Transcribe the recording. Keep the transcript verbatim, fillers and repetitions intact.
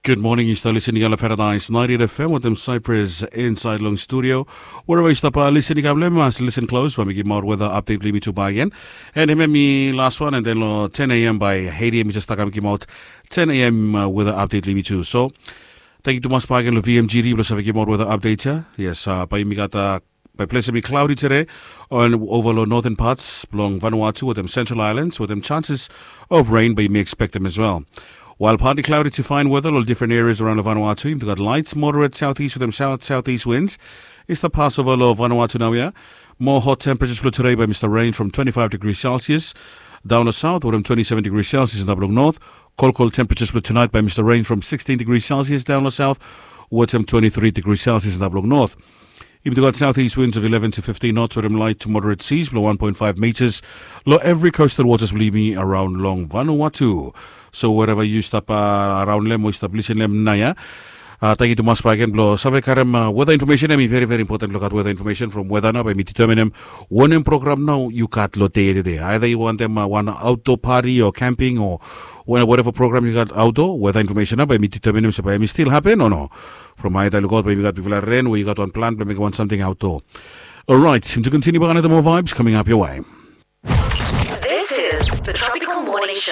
Gud moning, yu stap lisin long Paradise ninety-eight F M wetem Cyprus insaed long studio. Wereva yu stap lisin, i kam long em, mas lisin klos bae mi givim aot weta apdet blong yumi tu bakegen. And hemia i las wan, and then long ten a.m. bae eight a.m. mi jes stap kam givim aot ten a.m. weta apdet blong yumi tu. So, tangkiu tumas bakegen long V M G D blong save givim aot weta apdet ya. Yes, bae yumi gat bae ples blong yumi klaodi tede, and ova long northern parts blong Vanuatu wetem Central Islands wetem chances of rain bae yumi ekspektem as well. While partly cloudy to fine weather long different areas around Vanuatu, yumi gat light moderate southeast wetem south southeast winds i stap pas ova long Vanuatu naoia. Moa hot temperatures blong tude bae mi stap range from twenty-five degrees Celsius daon long south wetem twenty-seven degrees Celsius antap long north. Kolkol temperatures blong tunaet bae mi stap range from sixteen degrees Celsius daon long south wetem twenty-three degrees Celsius antap long north. Yumi tu gat southeast winds of eleven to fifteen knots wetem light to moderate seas blong one point five meters long evri coastal waters blong yumi around long Vanuatu. So wereva yu stap around long em o yu stap lisin long em naoia, tangkiu tumas bakegen blong save karem weta infomesen. Em i veri veri impoten blong gat weta infomesen from weta nao bae mi diteminim wanem program nao yu gat long dei ya tede. Aeda yu wantem wan aoto pati o kamping o wereva program yu gat aoto, weta infomesen nao bae mi diteminim se bae em i stil hapen o no. From aeda lukaot bae yumi gat bigfala ren we yu gat wan plan blong mekem wan samting aoto. Orait, yumi tu kontiniu bakegen wetem moa vibes coming up your way. This is the Tropical Morning Show.